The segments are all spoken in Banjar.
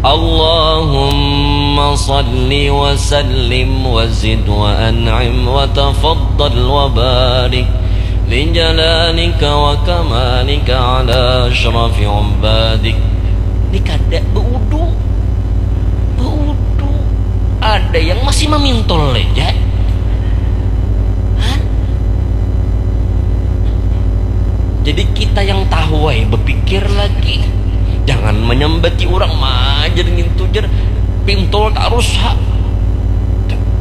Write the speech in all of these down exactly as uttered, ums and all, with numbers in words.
Allahumma salli wa sallim wa zid wa an'im wa tafaddal wa barik li jalalika wa kamalika ala asyrafi ubadik. Ini kada beudu. Beudu. Ada yang masih mamintol aja. Jadi kita yang tahu, eh, berpikir lagi. Jangan menyambati orang, majar ngintu jer. Pintol tarus, ha.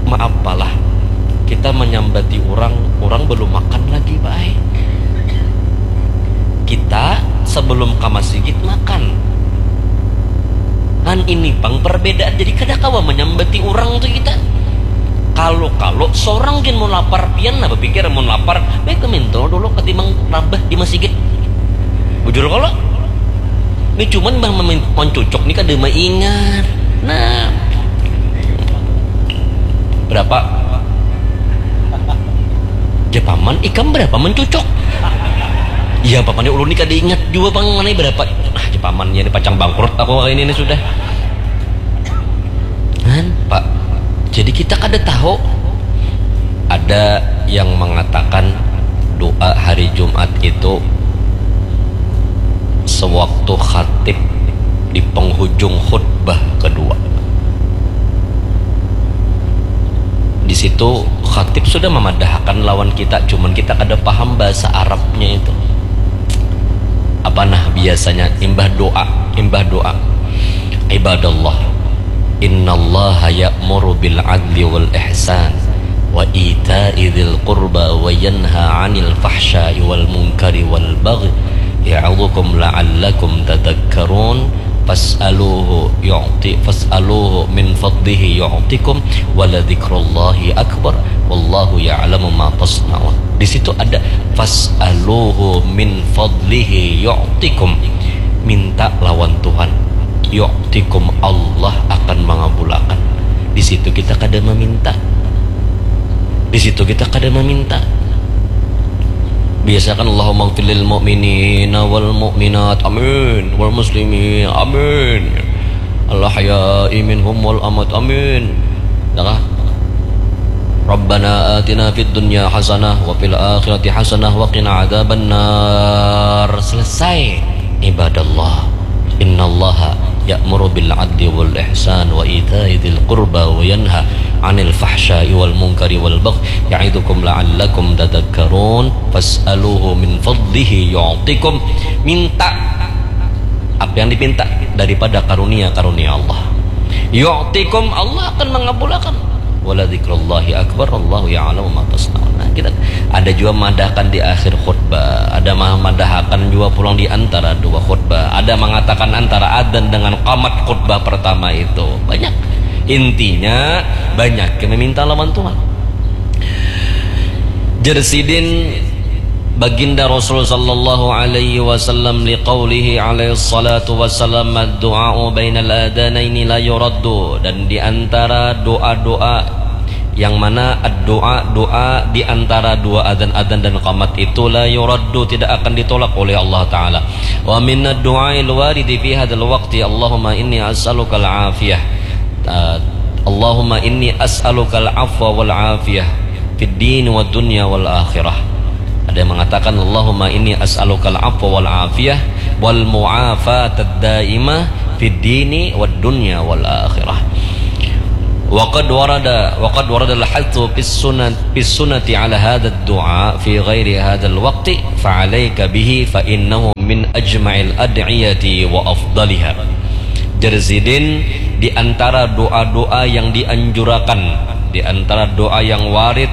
Maaf lah. Kita menyambati orang, orang belum makan lagi, baik. Kita sebelum ke masjid makan. Kan ini pang perbedaan, jadi kada kawa menyambati orang tuh kita. Kalau-kalau seorang gin mau lapar, pian nah berpikir mau lapar, baik ke minto dulu ketimbang rabah di masjid. Bujur kalau ini cuman bah mencucuk nih kada maingat. Nah, berapa? Jepaman ikam berapa mencucuk? Iya, paman ulun ni kada ingat juga pang mana berapa. Ah, jepaman ya, ini pacang bangkrut aku kali ini, ini sudah. Kan, Pak. Jadi kita kada tahu. Ada yang mengatakan doa hari Jumat itu sewaktu khatib di penghujung khutbah kedua. Di situ khatib sudah memadahakan lawan kita, cuman kita kada paham bahasa Arabnya itu. Apa nah biasanya imbah doa, imbah doa. Ibadallah, innallaha ya'muru bil adli wal ihsan wa ita'i dzil qurba wa yanha 'anil fahsya'i wal munkari wal baghi ya'idzukum la'allakum tadzakkarun. Fas'aluhu yu'ti fas'aluhu min fadlihi yu'tikum wa la dzikrullahi akbar wallahu ya'lamu ma tasna'un. Di situ ada fas'aluhu min fadlihi yu'tikum. Minta lawan Tuhan. Yu'tikum, Allah akan mengabulakan. Di situ kita kada meminta. Di situ kita kada meminta. Biasakan Allahumma gfir lil mu'minina wal mu'minat. Amin. Wal muslimin. Amin. Al ahya'i minhum wal amwat. Amin. Dah kah? Rabbana atina fid dunya hasanah wa fil akhirati hasanah wa qina adzaban nar. Selesai. Ibadallah. Innallaha ya'muru bil adli wal ihsan wa ita'i dzil qurba wa yanha 'anil fahsya'i wal munkari wal baghi ya'idzukum la'allakum tadzakkarun. Fas'aluhu min fadlihi yu'tikum. Minta apa yang dipinta daripada karunia-karunia Allah. Yu'tikum, Allah akan mengabulakan. Wala dzikrullahi akbar, Allahu ya'lamu ma tasna'un. Nah, kita ada juga madahkan di akhir khutbah, ada mah madahakan juga pulang di antara dua khutbah. Ada mengatakan antara adzan dengan qamat khutbah pertama itu. Banyak. Intinya banyak yang meminta lawan Tuhan. Jer sidin Baginda Rasul sallallahu alaihi wasallam liqaulihi alaihi salatu wasallam, "Ad-du'a'u bainal adanaini la yuraddu." Dan di antara doa-doa yang mana ad-du'a, doa di antara dua adzan-adzan dan qamat itu la yuraddu, tidak akan ditolak oleh Allah Taala. Wa minad du'ail waridi fi hadzal waqti, Allahumma inni as'alukal afiyah. Uh, Allahumma inni as'alukal afwa wal afiyah fid dini wad dunya wal akhirah. Ada yang mengatakan, "Allahumma inni as'alukal afwa wal afiyah wal mu'afatad daimah fid dini wad dunya wal akhirah." Wa qad warada wa qad warada al-hathu fis sunnah fis sunnati ala hadzal du'a fi ghairi hadzal waqti, fa alaika bihi fa innahu min ajma'il ad'iyati wa afdaliha. Jer sidin, di antara doa-doa yang dianjurakan, di antara doa yang warid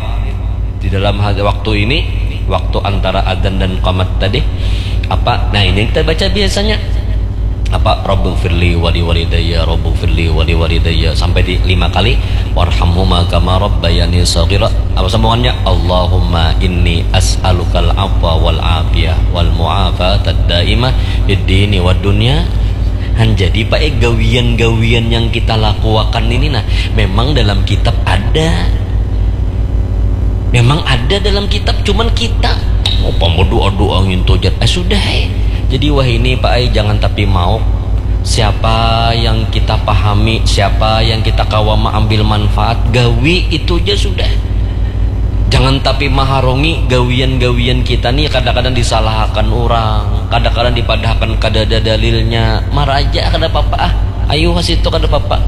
di dalam waktu ini, waktu antara adzan dan qamat tadi, apa? Nah, ini yang kita baca biasanya. Apa? Rabbighfirli wali walidayya, Rabbighfirli wali walidayya, sampai di lima kali. Warhamhuma kama rabbayani shaghira. Apa sambungannya? Allahumma inni as'alukal afwa wal afiyah wal mu'afatad daimah fid dini wad dunya. Han, jadi, Pak, eh, gawian-gawian yang kita lakuakan ini, nah, memang dalam kitab ada. Memang ada dalam kitab, cuman kita, oh, pama doa-doa ngintu jar. Eh, sudah, eh. Jadi, wah, ini, Pak, eh, jangan tapi mau. Siapa yang kita pahami, siapa yang kita kawa maambil manfaat, gawi itu ja sudah. Jangan tapi maharungi gawian-gawian kita ni, kadang-kadang disalahakan urang, kadang-kadang dipadahakan kadada dalilnya, maraja kada papa ah, ayu ha situ kada papa.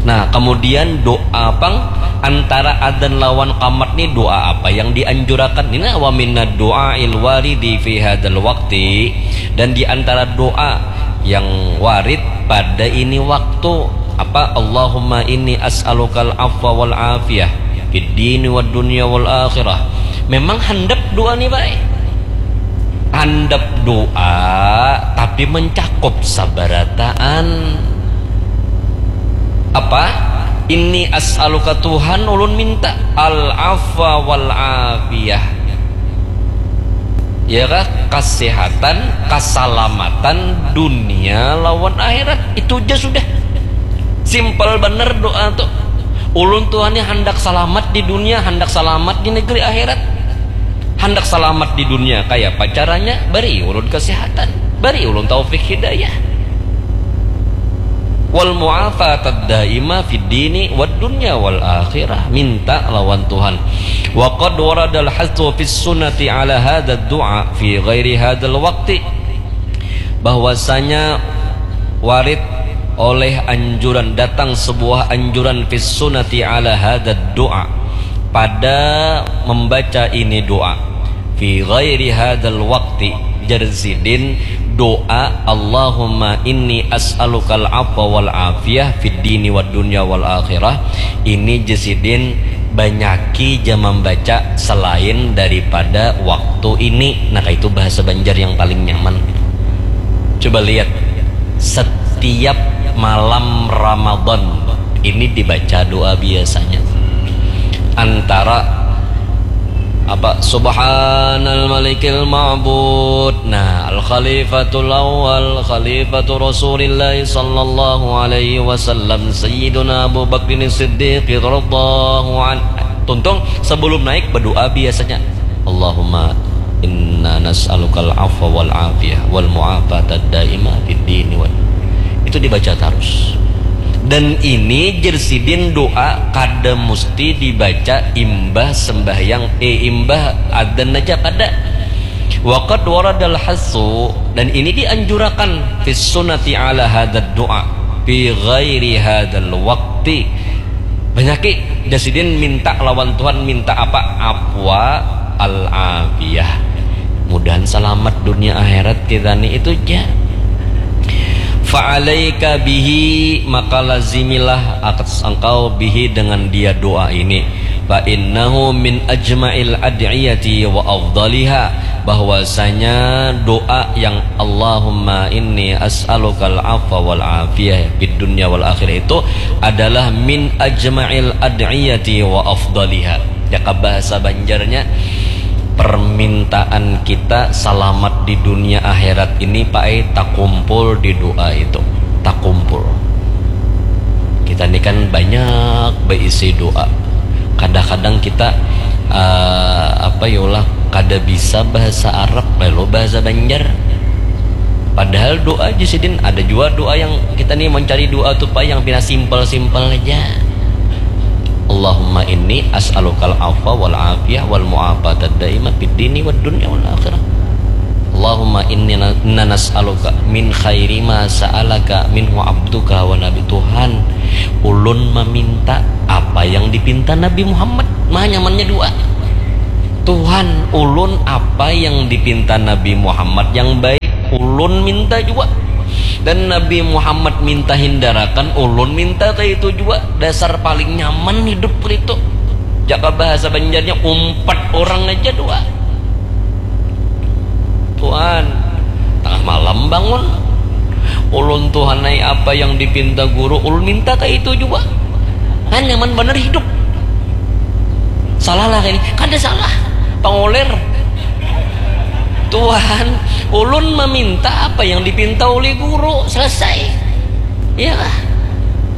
Nah, kemudian doa pang, antara adzan lawan qamat ni doa apa yang dianjurakan? Ini wa minad du'ail waridi fi hadzal waqti, dan di antara doa yang warid pada ini waktu apa? Allahumma inni as'alukal afwa wal afiyah fid dini wad dunya wal akhirah. Memang handap doa ni baik. Handap doa tapi mencakup sabarataan. Apa? Inni as'aluka, Tuhan, ulun minta al afwa wal afiyah. Ya kah? Kasehatan, kasalamatan dunia lawan akhirat. Itu ja sudah. Simpel banar doa tu. Ulun Tuhan ni handak salamat di dunia, handak salamat di negeri akhirat. Handak salamat di dunia, kayapa caranya? Bari ulun kasehatan, bari ulun taufik hidayah. Wal mu'afatad daimah fid dini wad dunya wal akhirah. Minta lawan Tuhan. Wa qad waradal hasu fis sunnati ala hadzal du'a fi ghairi hadzal waqti. Bahwasanya warid oleh anjuran, datang sebuah anjuran fis sunnati ala hadzal du'a, pada membaca ini doa. Fi ghairi hadzal waqti, jar sidin, doa Allahumma inni as'alukal afwa wal afiyah fid dini wad dunya wal akhirah, ini jar sidin banyaki ja mambaca selain daripada waktu ini. Nah, itu bahasa Banjar yang paling nyaman. Coba lihat, setiap malam Ramadan ini dibaca doa biasanya. Antara apa? Subhanal malikil ma'bud. Nah, al khalifatul awal, khalifatu Rasulillah sallallahu alaihi wasallam, Sayyiduna Abu Bakrin Siddiq radhiyallahu an. Tuntung sebelum naik berdoa biasanya, Allahumma inna nas'alukal afwa wal afiyah wal mu'afatad daimah fid dini wal. Itu dibaca terus. Dan ini jar sidin doa kada musti dibaca imbah sembahyang, eh, imbah adzan aja kada. Wa qad waradal hasu, dan ini dianjurakan, fis sunnati ala hadzal du'a fi ghairi hadzal waqti. Banyaki jar sidin minta lawan Tuhan, minta apa? Afwa al afiyah. Mudahan salamat dunia akhirat kita ni, itu ja. Fa'alaika bihi, maka lazimilah atas engkau, bihi, dengan dia doa ini. Fa innahu min ajma'il ad'iyati wa afdaliha, bahwasanya doa yang Allahumma inni as'alukal afwa wal afiyah fid dunya wal akhirah itu adalah min ajma'il ad'iyati wa afdaliha. Jaka bahasa Banjarnya, permintaan kita salamat di dunia akhirat ini, Pak, eh, takumpul di doa itu. Takumpul. Kita ni kan banyak beisi doa. Kadang-kadang kita, eh, apa ya lah, kada bisa bahasa Arab, lalu bahasa Banjar. Padahal doa aja sidin, ada juga doa yang kita nih mencari doa tuh, Pak, yang pina simpel-simpel aja. Allahumma inni as'alukal afwa wal afiyah wal mu'afatad daimah fid dini wad dunya wal akhirah. Allahumma inni na-, inna nas'aluka min khairi ma sa'alaka minhu abduka wa nabi. Tuhan, ulun meminta apa yang dipinta Nabi Muhammad. Mah nyamannya doa. Tuhan, ulun apa yang dipinta Nabi Muhammad yang baik, ulun minta juga. Dan Nabi Muhammad minta hindarakan, ulun minta kayak itu juga. Dasar paling nyaman hidup itu. Jaka bahasa Banjarnya, umpat orang aja doa. Tuhan, tengah malam bangun. Ulun Tuhan ai, apa yang dipinta guru, ulun minta kayak itu juga. Kan nyaman bener hidup. Salah lah ini, kada salah. Pangoler. Tuhan, ulun meminta apa yang dipinta oleh guru, selesai. Ya lah.